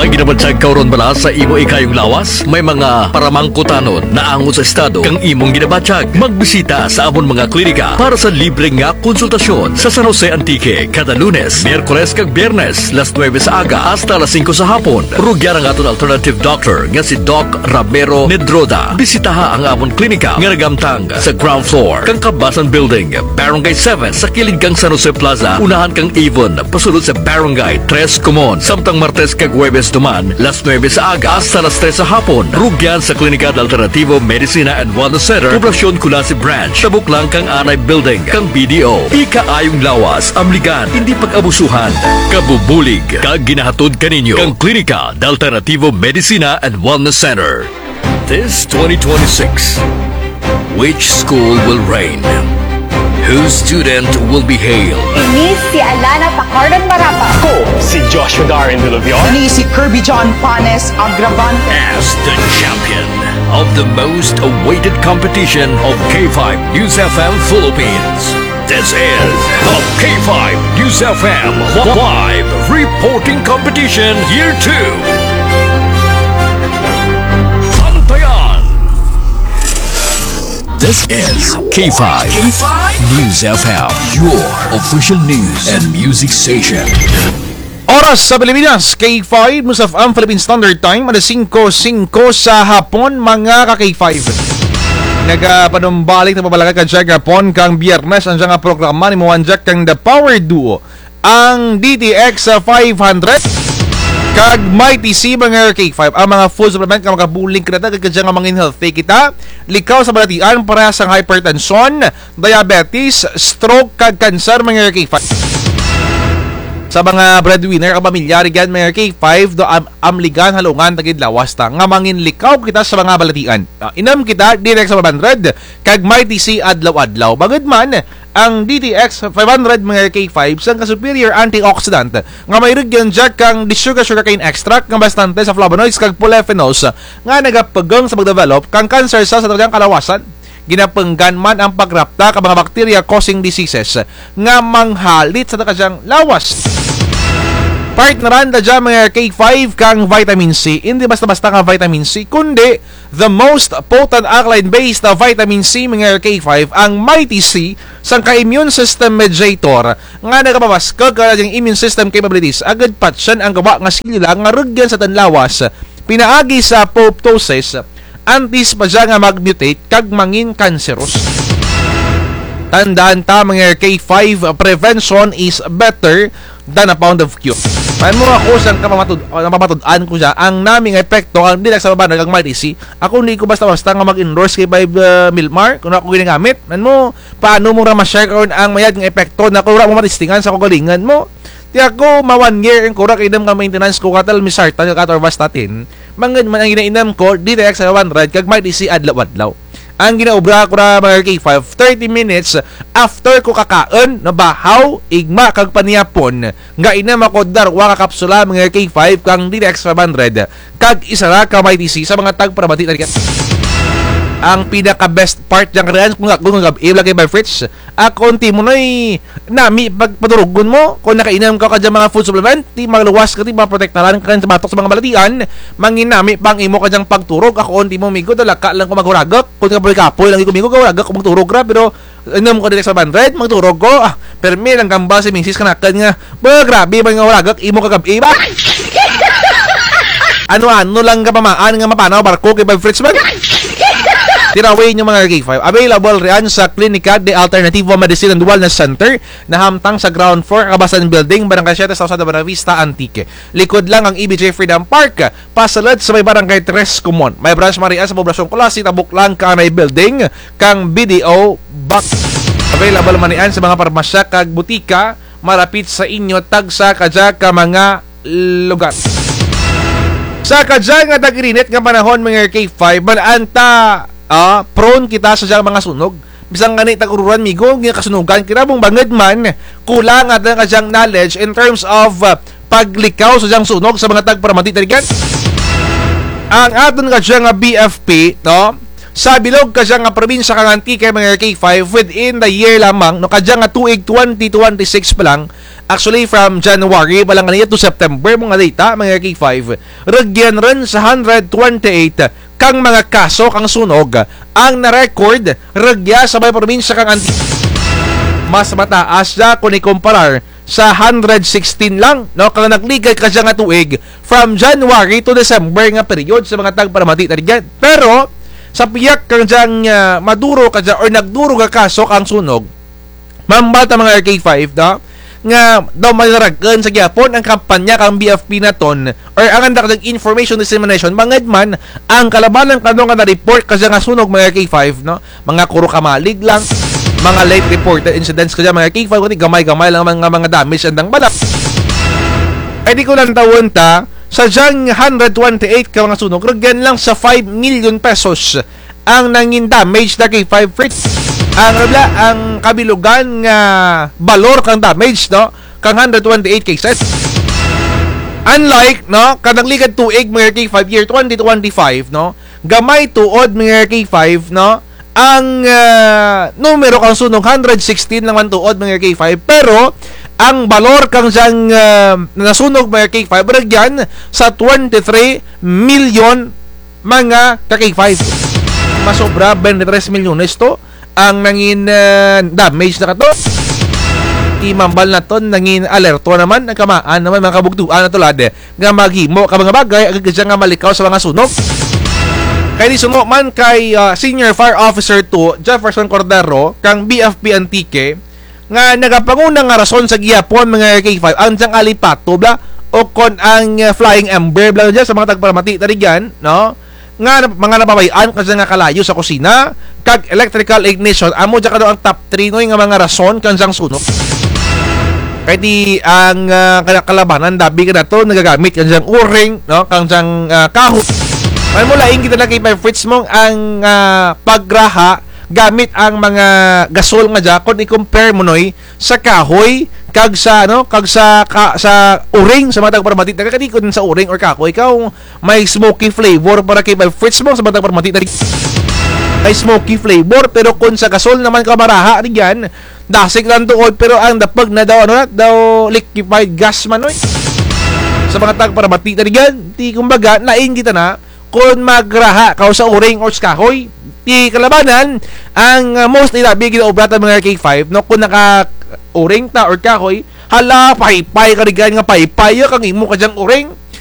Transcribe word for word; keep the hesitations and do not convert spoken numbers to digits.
Ginabatyag ka run bala sa imo ikayong lawas? May mga paramangkutanon naangot sa estado kang imong ginabatyag? Magbisita sa amon mga klinika para sa libre nga konsultasyon sa San Jose, Antique, kada Lunes, Miyerkules kag Biyernes, las nuebe sa aga hasta las singko sa hapon. Rugyan ang aton alternative doctor nga si Doc Ramiro Nedroda. Bisitaha ang amon klinika nga nagamtang sa ground floor kang Kabasan Building, Barangay seven, sa kilid kang San Jose Plaza, unahan kang Avon, pasulod sa Barangay Tres Comon. Samtang Martes kag Huwebes duman, las nuebe sa aga hasta las tres sa hapon. Rugyan sa Klinika de Alternativo Medicina and Wellness Center, Poblacion Culasi Branch, tabok lang kang Anay Building, kang B D O. Ikaayong lawas, amligan, indi pag-abusuhan. Kabubulig kag ginahatod kaninyo kang Klinika de Alternativo Medicina and Wellness Center. This twenty twenty-six, which school will reign? Whose student will be hailed? Ini si Alana Pacardon Marapa. Ako si Joshua Darren Duluvion. Ini si Kirby John Panes Agravante. As the champion of the most awaited competition of K five News F M Philippines. This is the K five News F M Live Reporting Competition Year two. Bantayan! This is K five News F M, your official news and music station. Oras sa Pilipinas, K five, News F M Philippine Standard Time, alas singko singko sa hapon, mga ka K five. Nagapanumbalik ta pabalakat kadya gihapon kang Biyernes ang dyang programa ni Moan Jack kang The Power Duo, ang D T X five hundred kag Mighty C, mga K five. Ang mga food supplement nga makabulig kanata, kadya nga mangin healthy kita, likaw sa balatian, parehas ang hypertension, diabetes, stroke, kag cancer, mga K five. Sa mga breadwinner kag pamilya rugyan, mga K five, do am-, amligan, halungan ta gid lawas ta nga mangin likaw kita sa mga balatian. Ah, inom kita, D T X five hundred kag Mighty C adlaw-adlaw. Bangud man, ang D T X five hundred, mga K five, sangka superior antioxidant nga may rugyan dya kang the sugar sugarcane extract nga bastante sa flavonoids kag polyphenols nga nagapugong sa pagdevelop kang cancer cell sa aton kalawasan. Ginapunggan man ang pagrapta ka mga bacteria causing diseases nga manghalit sa aton kadyang lawas. Partneran ta dya, mga K five, kang vitamin C. Indi basta-basta nga vitamin C, kundi the most potent alkaline-based vitamin C, mga K five, ang Mighty C, sangka immune system mediator nga nagapabaskug kang aton immune system capabilities, agud patyan ang gwa nga selula nga rugyan sa aton lawas pinaagi sa apoptosis, antes pa dya nga mag-mutate kag mangin cancerous. Tandaan ta, mga K five, prevention is better than a pound of cure. Man mo ako sangka pamatud-, ah, napamatud-an ko dya, ang nami nga epekto, ang D T X five hundred kag Mighty C. Ako, hindi ko basta-basta nga mag-endorse kay five, ah, Milmar, kung ako ginagamit. Man mo, paano mo ra ma-share karon ang mayad nga epekto na kung wara mo matistingan sa kaugalingon mo? Ti ako, ma-one year ang kura kainom ka maintenance ko, ka telmisartan, ka atorvastatin. Bangud man ang ginainom ko, D T X five hundred, kag Mighty C adlaw-adlaw. Ang ginaobra ko ra, mga K five, thirty minutes after ko kakaon, nabahaw, igma, kag panihapon, nga inom ako darwa ka kapsula, mga K five, kang D T X five hundred, kag isara ka Mighty C sa mga tagparamati na rugyan. Ang pinaka-best part dyan, karian, kung ako, kung gab-i, lagi by Fritz, akon ti mo noy nami pag-, paturugon mo, kung nakainom ka kadya mga food supplement, ti maluwas ka, ti maprotektaran ka sa batok sa mga balatian, mangin nami pa ang imo kadyang pagturog, akon ti mo migo, dalaka lang ko maghuragok, kung kapoy-kapoy lang ko migo, gahuragok ko magturog ra, pero inom ko D T X five hundred, magturog ko, ah, permi lang gambal si misis kanakun nga, ba, grabe man nga huragok imo kagab-i ba? Ano-ano lang kapamaan nga mapanaw barko kay five Fritz man. Tiraway ninyo, mga K five. Available riyan sa Klinika de Alternativo Medicine and Wellness Center, nahamtang sa ground floor, Kabasan Building, Barangay Siete, Sausalda, Buenavista, Antique. Likod lang ang E B J Freedom Park, pasulod sa may Barangay Tres Comon. May branch man riyan sa Poblacion Culasi, tabok lang kang Anay Building, kang B D O Bank. Available man riyan sa mga parmasya kag butika, malapit sa inyo, tagsa kadya ka mga lugar. Sa kadya nga tag-irinit nga panahon, mga K five, man-an ta, ah, prone kita sa dyang mga sunog. Bisan gani tag-ururan, migo, nga kasunugan kita, bangud man, kulang ang aton kadyang knowledge in terms of, ah, paglikaw sa dyang sunog sa mga tagparamati ta rugyan. Ang aton kadyang nga B F P, no? Sa bilog kadyang nga probinsya kang Antique, mga K five, within the year lamang, no, kadyang nga tuig twenty twenty-six pa lang, Actually, from January pa lang kanina to September, mga data, mga K five, rugyan run sa hundred twenty-eight kang mga kaso kang sunog ang na-record rugya sa may probinsya kang Antique. Mas mataas dya kung ikumparar sa hundred sixteen lang, no, kang nagligad kadya nga tuig from January to December nga period sa mga tagparamati ta rugyan. Pero sa piyak kang dyang, ah, maduro kadya or nagduro nga kaso kang sunog, mambal ta mga R K five, no? Nga daw manarag-un sa gihapon ang kampanya kang B F P naton or ang andang information dissemination, bangud man ang kalabanan kano nga na-report kadya nga sunog mga R K five, no? Mga kuro kamalig lang, mga late reported incidents kadya mga R K five, kundi gamay-gamay lang mga, mga damage andang bala. Ay di ko lang tawon ta, sa dyang hundred twenty-eight ka mga sunog, rugyan lang sa five million pesos ang nangin damage na kay five Fritz. Ang, ano bala, ang kabilugan nga balor kang damage, no, kang hundred twenty-eight cases. Unlike, no, kanang ligad tuig, mga R K five, year twenty twenty-five, no, gamay tuod, mga R K five, no, ang, ah, numero kang sunog, hundred sixteen lang man tuod, mga R K five, pero ang balor kang dyang, ah, nasunog, mga R K five, rugyan sa twenty-three million mga ka-K five. Masobra twenty-three milyones to ang nangin, ah, damage na kato. Imambal naton, nangin alerto naman, nagkamaan naman mga kabugtuan na tulad nga maghimo ka mga bagay, agud kadya nga malikaw sa mga sunog. Kay di suno man kay, ah, Senior Fire Officer two, Jefferson Cordero, kang B F P Antique, nga nagapanguna nga rason sa gihapon, mga R K five, ang dyang alipato bala, o kon ang, ah, flying ember bala dya sa mga tagparamati ta rugyan, no? Nga nap-, mga napabay-an kadya nga kalayo sa kusina, kag electrical ignition, amo dya kano ang top three, no, nga mga rason kang dyang sunog. Kay di ang, ah, kala-, kalabanan, dabi kanato nagagamit kang dyang uring, no, kang dyang, ah, kahoy. May mo lain kita na kay five Fritz mo ang, ah, pagraha gamit ang mga gasol nga dya, kung i-compare mo, noy, sa kahoy, kag sa, ano, kag sa, ka-, sa uring, sa mga tagparamati, taga kadi kun sa uring or kahoy, kaw may smoky flavor para kay five Fritz mo, sa mga tagparamati, taga may smoky flavor, pero kun sa gasol naman ka maraha, rugyan, dasig lang tuod, pero ang dapug na daw, ano na, daw liquefied gas man, oy. Sa mga tagparamati, taga rugyan, ti kumbaga, lain kita na, kun magraha kaw sa uring or sa kahoy. Ti kalabanan, ang, ah, mostly labi ginaobra ta mga R K five, no, kun naka-uring ta or kahoy, hala, paypay ka rugyan nga paypay, ya, kang imo kadyang uring.